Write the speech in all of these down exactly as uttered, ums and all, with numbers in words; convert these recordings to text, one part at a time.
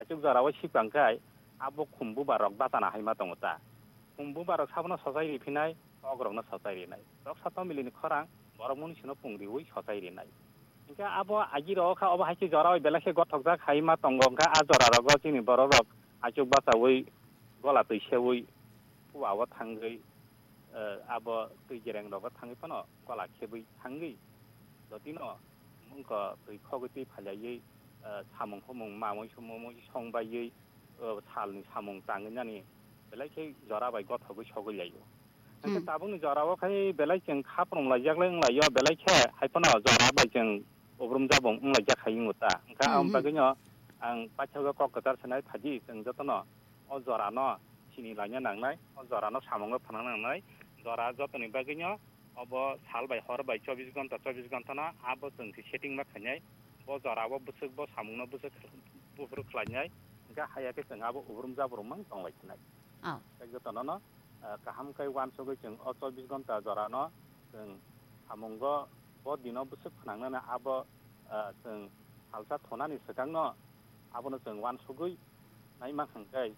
Chuk jora o sipang khai abo khum bubar rok bachana hai ma tongo ta. Khum bubar rok sabono sochai ri phinai, kok rokno sochai rinai. Rok sato milini khorang borok muni sino pung riwi sochai rinai. Hingke abo agi rok kha obo hai khe jora bai belai khe gothok jak hai ma tongo. Hingke a jora rogo chini borok rok achuk bachaui gola twi seui kua o thangwi, eh, abo twi gereng rogo thangwi phano gola khebwi thangwi jotino wngkha twi khogwi twi phailaiwi, eh, samung humung mamui sumui songbaiwi, eh, salni samung tangwi nani belai khe jora bai gothogwi sogwi laio. Hingke Hmm. tabukni jora o khai belai chwng khaprung laijak lai wng laio, belai khe hai phano jora bai chwng ubrum jabung wng laijak hai wngo ta. Hingke Hmm, ang hmm. bagwino ang paithago kok kwchar sanai phaidi chwng jotono o jora no sini laina nangnai, o jora no samung no phanang nangnai, jora jotoni bagwino obo sal bai hor bai chobbish ghonta, chobbish ghonta no abo chwng se setting ma khainai, bo jora o bwswk bo samung no bwswk buphuru khlainai, hingke haya khe chwng abo ubrum jabrum mang tonglai khanai. Oh. Tei jotono no, ah, kaham khe uansugwi chwng o chobbish ghonta jora no chwng samungo bo dino bwswk phnangnani abo, ah, chwng salsa thonani swkangno abono chwng uansugwi naima hwnkhe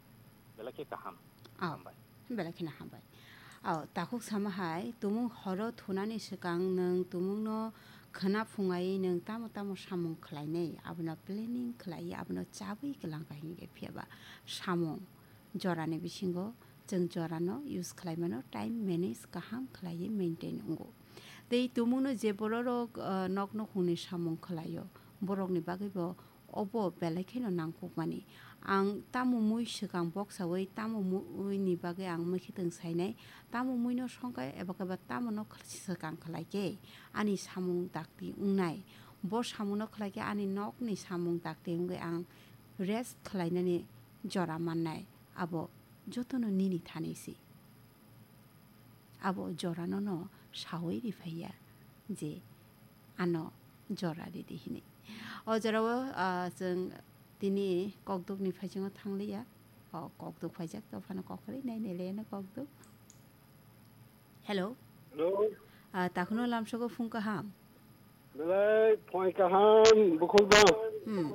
belai khe kaham. Oh. Hambai. Belai kheno hambai. Oh, takhuk sama hai, tumung horo thunani swkang nwng tumungno khwna phungai nwng tamo tamo samung khlainai, abono planning khlai, abono chabwi kwlang kha hingkhe phiyaba samung jorani bisingo chwng jorano use khlaimano time manage kaham khlaiwi maintain wngo. Tei tumungno je bororok, ah, nok nukhungni samung khlaio, borokni bagwibo obo belai kheno nangkukmani. Ang tamo mui swkang boksaui tamo mui ni bagwi ang mui khitwng sainai, tamo muino songkha eba khe ba tamono swkang khlaikhe ani samung dakti wngnai. Bo samungno khlaikhe ani nokni samung dakti wngwi ang rest khlainani jora mannai, abo jotono nini thani se. Abo jorano no saui riphaiya je ano jora ridi hinwi. O jorao, ah, chwng tini kokdukni phaisingo thangliya. O kokduk phaijak, dophano kokrwi nai nai laiano kokduk. Hello. Hello. Ah, takhuno lamsogo phung kaham. Belai phung kaham, bukhuk bang. Hmm.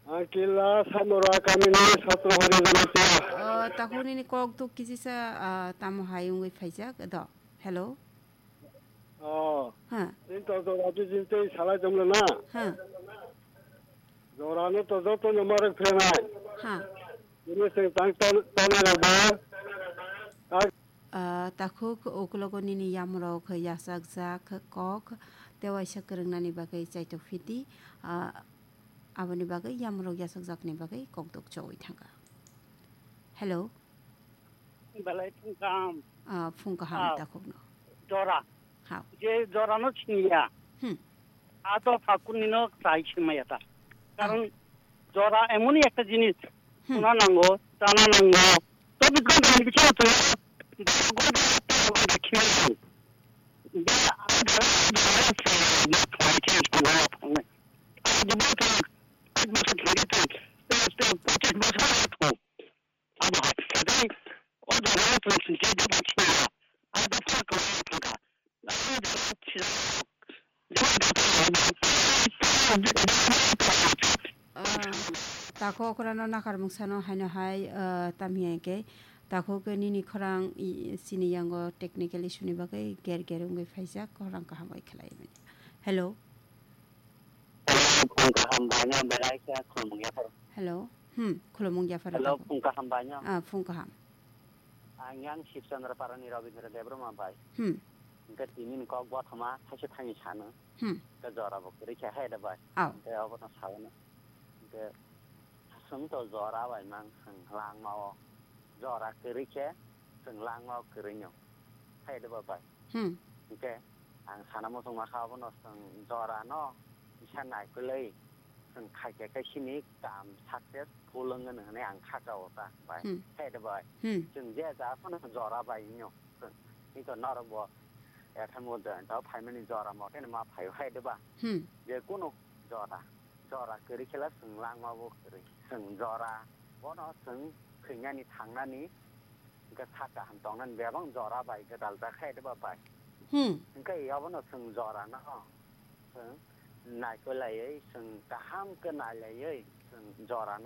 Ang Killa Samora kamini Satro Hari Jamatia. O, takhuk nini kokduk kisisa, ah, tamo hai wngwi phaijak do. Hello. Oh. Ha. Nini to jora tu jin tei salai tonglo na. Ha. Jora no to joto no marek phenai. Ha. Ini sing tang ton ton na ba. Ah, takhuk uklogo nini yamrok yachakjak kok tewaisa kwrwngnani bagwi chaitok phiti, ah, aboni bagwi yamrok yachakjakni bagwi kokduk chowi thangkha. Hello. Belai phung kaham. Ah, phung kaham. Ah, takhukno. Jora. Hao. Je jora no siniya. Hmm. A to phakunni no chai simaya ta. Karon jora emoni ekta jinis, hmm, khuna nango, chana nango. To bikon kan bichara to. Ba go ba to go ba khina. Ba a jora jora se na phai ke phunga phunga. A go ba to ek bosor thangke to. Ek to pochis bosor thangke. Abo hai khe tei o jora o chwng singsa de bachina. Abo khe kwrwi thangkha. Abo jora sira. Ah, takhuk okrano nakhar mungsano haino hai, ah, tamhiya khe takhuk nini khorang i-, sini yango technical issue ni bagwi ger ger wngwi phaijak, khorang kaham bai khlai mani. Hello. Hello, phung kaham baino belai khe khulumung yapharo. Hello. Hmm, khulumung yapharo. Hello, takhuk. Phung kaham baino. Ah, phung kaham. Ang yang Shibchandra Parani Rabindra Debbarma bai. Hmm. Hingke tini ni kok bothoma thaisa thani sano. Hmm. Hingke jora bo kwrwi khe hai da bai. Au. Hingke obono saono. Hingke chwng to jora bai mang chwng langma o. Jora kwrwi khe chwng langma o kwrwi no. Hai da ba bai. Hmm. Hingke ang sana muchungma kha, abono chwng jora no kisa naikolwi chwng khaikhe khe chini kam successful wngwi hwnwi ang kha kao ta bai. Hmm. Hai da bai. Hmm. Chwng je ja phano jora bai no. Chwng iko norok bo etha mo de ta phaimani jora mo khe ma phaio hai da ba. Hmm. Je kunu jora. Jora kwrwi khe le chwng langma bo kwrwi. Chwng jora bono chwng thwinani thangnani hwnkhe sak kaham tongnani bebak jora bai gwdal jak khe de ba bai. Hmm. Hwnkhe abono chwng jora no chwng naikolaiwi chwng kaham khe nailaiwi chwng jora